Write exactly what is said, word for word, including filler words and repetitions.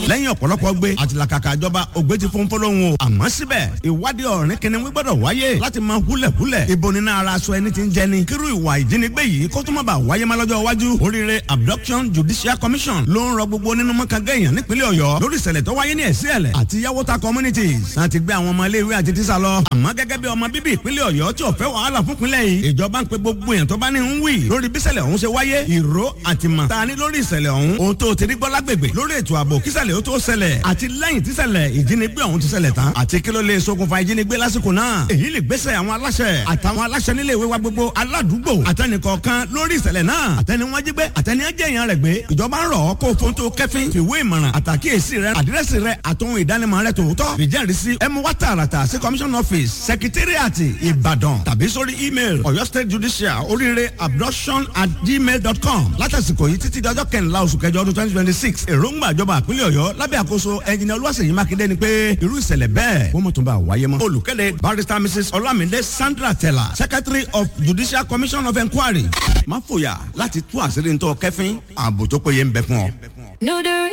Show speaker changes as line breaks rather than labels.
Lẹ́yìn ọ̀pọ̀lọpọ̀ gbé àtìlàkàkà ìjọba ògbé ti fún fọlọ́hún o. Àmọ́ síbẹ̀, ìwádìí ọ̀rìn kìnìún gbọ́dọ̀ wáyé láti máa húlẹ̀húlẹ̀ ibo nínú ara aṣọ ẹni tí ń jẹni. Kírú ìwà ìjínigbé yìí kó tó má bàa wáyé má lọ́jọ́ iwájú. Oríire Abduction Judicial Commission ló ń rọ gbogbo nínú mọ́kàngá èèyàn nípínlẹ̀ Ọ̀yọ́ lórí ìṣẹ̀lẹ̀ tó wáyé ní Ẹ̀sìẹ̀lẹ̀ àti Yàwótà communities láti gbé àwọn ọmọ iléèwé àti tíṣà lọ. Àmọ́ gẹ́gẹ́ bí ọmọ bíbí ìpínlẹ̀ Ọ̀yọ́ tí ò fẹ́ wàhálà fún ìpínlẹ̀ yìí, ìjọba ń pe gbogbo èèyàn tó bá ní ń wì lórí bíṣẹ̀lẹ̀ ọ̀hún ṣe wáyé, ìró àtìmọ̀ ta ni lórí ìṣẹ̀lẹ̀ ọ̀hún, ohun tó ti rí gbọ́ lágbègbè lórí ètò ààbò kíṣẹ̀lẹ̀ ó tó ṣẹlẹ̀ àti lẹ́yìn tíṣẹ̀lẹ̀ ìjínigbé ọ̀hún ti ṣẹlẹ̀ tán, àti kí ló lè ṣokùnfà ìjínigbé lásìkò náà. Èyí lè gbésẹ̀ àwọn aláṣẹ àtàwọn aláṣẹ nílé ìwé wa gbogbo, aládùúgbò àtẹnìkọ̀ọ̀kan lórí ìṣẹ̀lẹ̀ náà, àtẹni wọn jí gbé, àtẹni ẹ jẹ́ èèyàn rẹ̀ gbé. Ìjọba ń rọ̀ ọ́ kó fóun tó kẹ́fín fìwé ìmọ̀ràn àtàkíyèsí rẹ, àdírẹ́sì rẹ, àtòhun ìdánimọ̀ rẹ tòótọ́ ìjẹ́rìísí ẹ mú wá tààràtà sí commission office, secretariat, Ìbàdàn, tàbí sórí email Ọ̀yọ́ State Judicial oríire abduction at gmail dot com látàsìkò yìí títí dọjọ́ kẹrìnlá oṣù kẹjọ ọdún twenty twenty six. Èròǹgbà ìjọba ìpínlẹ̀ Ọ̀yọ́ lábẹ́ àkóso ẹnjìnìà Olúwaṣèyí Mákindé ni pé irú ìṣẹ̀lẹ̀ bẹ́ẹ̀ kó mọ̀ tó bá wáyé mọ́. Olùkéde, Barrister Missus Olamide Sandra Tella, Secretary of Judicial Commission of Inquiry. Má fòyà láti tú àṣírí ntọ́ kẹfín, ààbò tó péye ń bẹ fún ọ.
No,